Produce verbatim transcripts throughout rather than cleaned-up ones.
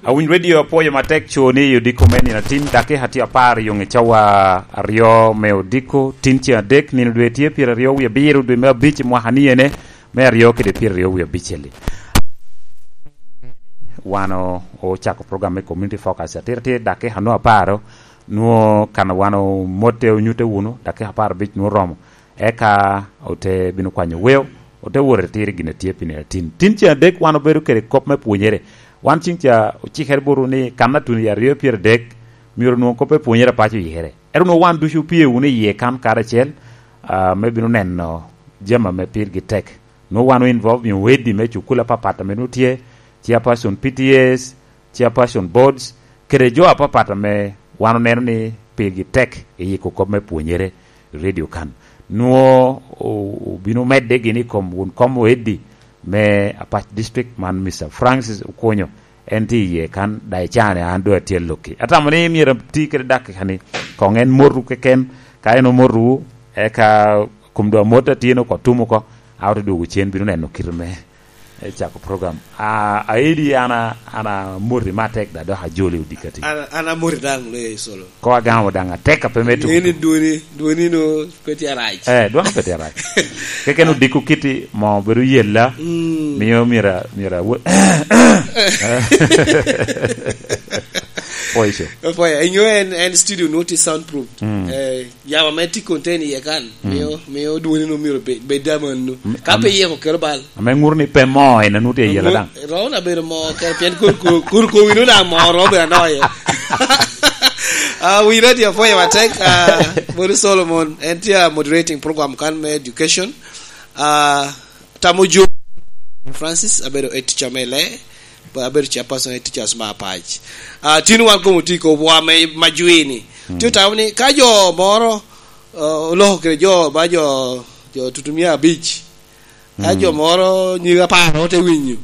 Awiny Radio, apwoyo matek co ni i odiko me nino atin, dakika tye apar i yoŋe cawa aryo me odiko, tin ceŋ adek, nino dwe tye pyeraryo wie abiro, dwe me abic i mwaka ni ene, me aryo kede pyeraryo wie abicel-li. Wan o-, ocako program me Community Focus, atira tye dakika nwo aparo, nwo kan wan omotte onyutte wunu, dakika apar abic nwo oromo. Eka ote bino kwanyo weo, ote wot i tiro gin a tye pi nino atin. Tin ceŋ adek wan obedo kede kop me pwonyere. Wan ceŋ ca ocikere botwu ni kan a tuno i aryo pyeradek, myero onwoŋo kop me pwonyere apac oyikere. Ento onwoŋo wan ducu opye wunu iye kan karacel, ah, me bino neno jami ame pirgi tek. Nwoŋo wan o-involve nyo wedi me cukul apapat ame nwoŋo tye, chairperson P T As, chairperson boards, kede jo apapat ame wan oneno ni pirgi tek i yiko kop me pwonyere i radio kan. Nwoŋo o-, obino medde gini i kom wun kom oeddi me Apac District man, Mister Francis Okonyo, en tye iye kan, daŋ icane an doŋ atye alokki. Atamo ni myero ati kede dakika ni, koŋ en motu keken, ka en omotu, eka kom doŋ amot atye no oko, tum oko, a ote dwogo cen bino neno kite me e cako program. Ah, aidi an a-, an amoti matek da dok ajoli odikati. An, an amoti daŋ le solo. Ko agamo daŋ atek a pe me tuko. Ngeni dwoni, dwoni no pe tye arac. Eh, dwon pe tye arac. Keken odiko kiti mo bedo yella. Mm. Miyo mira, mira wo-, Poiso. Poya, inyo en, en studio no ti soundproof. Mm. Eh, Yamo ame tye contain iye kan, mm, mio, mio dwoni no myero bed, bed amanno. Mm, ka pe iye okelo bal. Ame ŋuro ni pe moo en anu tye iye daŋ. Romo na bedo moo kere, pien kur, kur, kur kowi no daŋ moo romo bedo anoko iye. Ah, wi radio apwoyo matek, ah, Mony Solomon, en tye, ah, moderating program kan me education. Ah, tamo jo Francis, abedo head teacher me lee, abedo chairperson head teachers me Apac. Ah, tin wan komo tye i kobwa me, ma jwi ni. Mm. Tye otamo ni ka jo moro, ah, oloko kede jo, ba jo, jo tutumia abic. Ka, mm, jo moro nyige apar ote winyo,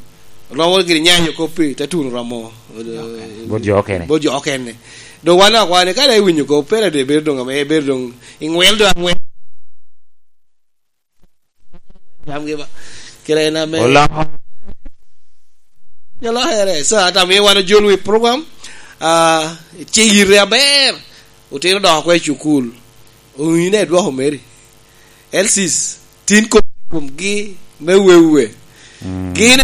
romo gire nyanyo koppi, te tuno romo, eh, bot jo okene. Bot jo okene. Doŋ wan akwa ni ka dok iwinyo kop, pe dok bedo doŋ ame, bedo doŋ iŋwel doŋ aŋwel. Yam gi ba. Kere en ame. Oloko. Nyalo here. So, ata mi wan ojol wi program, ah, ce yite aber. Otino dok oko i cukul. Owinyo ne dwoko meri. L Cs, tin kom, komgi me wewe. Mm. Gin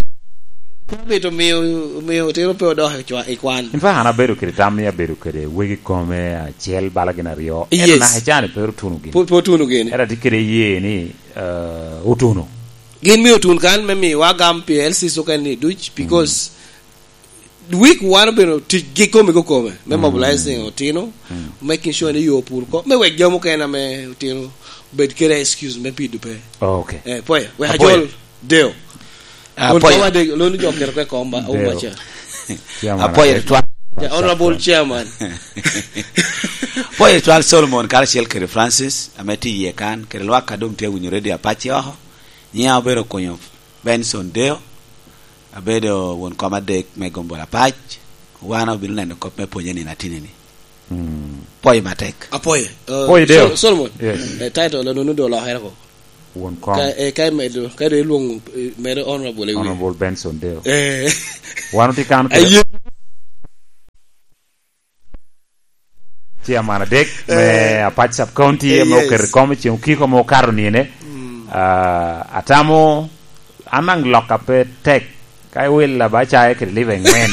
cabit omio, omio otino pe odok i cwa-, i kwan. In fact, an abedo kede tam ni abedo kede wegi kome acel bala gin aryo. Ento, yes, naka ecani pe otuno gin. Pe, pe otuno gin. Ento atye kede ye ni, eh, otuno. Gin mio otun kan me miwa gam pi L Cs okene ni duc, because, mm, week wan obedo tic gi kome kome, me, mm, mobilizing otino, mm, making sure ni yo opur oko, me wek jami okene ame otino obed kede excuse me pido pe. Oh, okay. Eh, Poya, wek Apoya. Ajol Deo. Ah, Mon Apoya. Koma de, loni jo kere kwe komba, Deo. Auma cha. Chairman Apoya Apoya. Tutwal. Ja, Honorable Chairman. Apoya Tutwal Solomon karacel kede Francis, ame tye iye kan, kede lwak a doŋ tye winyo radio Apac oko. Nyiŋa obedo Okonyo Benson Deo, abedo won kom adek me Gombol Apac, wan obino neno kop me pwonye nino atinini. Mm. Pwoyo matek. Apoye. Eh, Pwoyo Deo. Sol-, Solomon. Yes. Eh, title, nunu do olokere ko. Won kom. Ka, eh, ka imedo, ka do ilwongo, eh, medo Honorable i wiye. Honorable Benson Deo. Eh. Wan otye kan kede Aye. Chairman adek, eh, me Apac Sub County, eh, ame, yes, oketo i kom i ceng okiko ame okato nine. Mm. Ah, atamo, an daŋ lokka pe tek. Ka iwila ba caye kede liba eŋwen.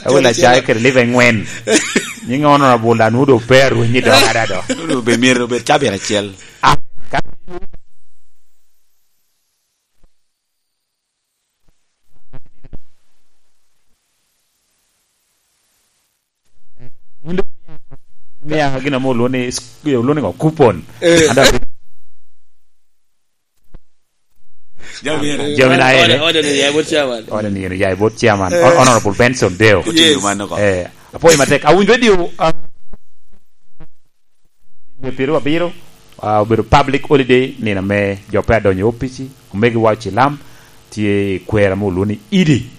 Iwila caye kede liba eŋwen. Nyiŋ Honorable Anudo pe arwenyi dok ada do. Obedo myero obed cabit acel. Ah, ka Mia gin ame olwo ni, olwo ni ŋo? Coupon. Eh. Ada jami na ene. Ode, ode ni ya bot chairman. Ode ni ya bot chairman. Eh. Hon-, Honorable Benson Deo. Yes. Otiyo mano ko. Eh, apoyo matek. Awinjo radio, ah, Dwe pyeraryo abiro, ah, obedo public holiday, nino ame jo pe adonyo i opici, omegiwa ocilam tye i kwero ame olwo ni Idi.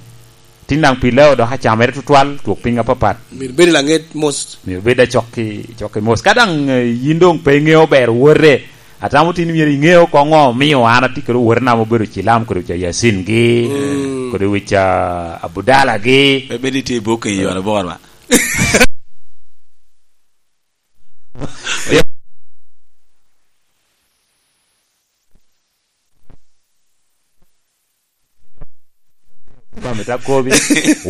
Tin daŋ pi leo dok acamere tutwal, twok piny apapat. Myero bed i laŋet mos. Myero bed acok ki, cok ki mos. Ka daŋ, eh, yin doŋ pe iŋeo ber wote, atamo tin myero iŋeo koŋ ŋo omio an atye kede owotena ame obedo cilam kede oca Yasin gi. Mm. kodi wic, ah, abudalagi. Pe bed itye i buk i yo aboro ba. Mami ta kobi,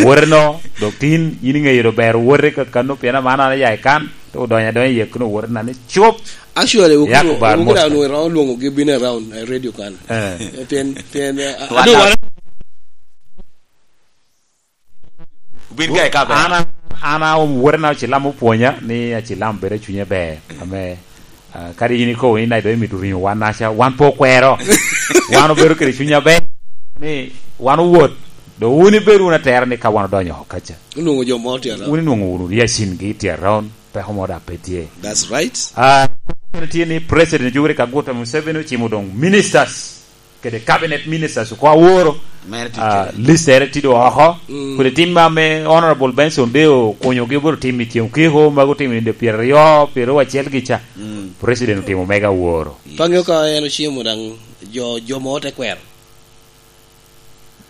woteno, dok tin, yin iŋeyo do ber wote ka kano pien aman an aya i kan, te odonyo adonya i akino wotena ni cup. Actually, Yak wukuno, bar wukuno mos. Anu iromo lwoŋogi bino around, eh, radio kan. Eh. Eh, pien, pien, eh, Wan adu a- wan- Obin ka i ka ber. An, an, an, wotena Acilam opwonya ni Acilam bedo i cunye ber. Ame, ah, kadi yin ikobo ni nai do imito ringo wan naca, wan pe okwero. Wan obedo kede cuny aber ni wan owot. Do wun ibed wun atera ni ka wan odonyo oko kaca. Onwoŋo jo mo tye around. Wun inwoŋo wunu Yasin gi tye around, peko mo da pe tye. That's right. Ah, kene tye ni President Yoweri Kaguta Museveni ocimo doŋ ministers kede cabinet ministers oko aworo. Mere tic Ah, kede. List ere tye doŋ oko. Mm. Kodi tim ame Honorable Benson Deo okunyogi obedo tim i ceng okiko, mago otimo i nino pyeraryo, pyeraryo acel gi ca. Mm. President otimo mega aworo. Pe aŋeo ka en ocimo daŋ jo, jo mo te kwero.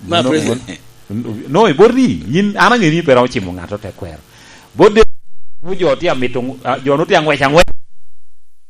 Ma No, president. No, no, i bot ri, yin, an aŋeo ni pe romo cimo ŋat te kwero. Bot de, jo tye amito, ah, jo no tye aŋwec aŋwec.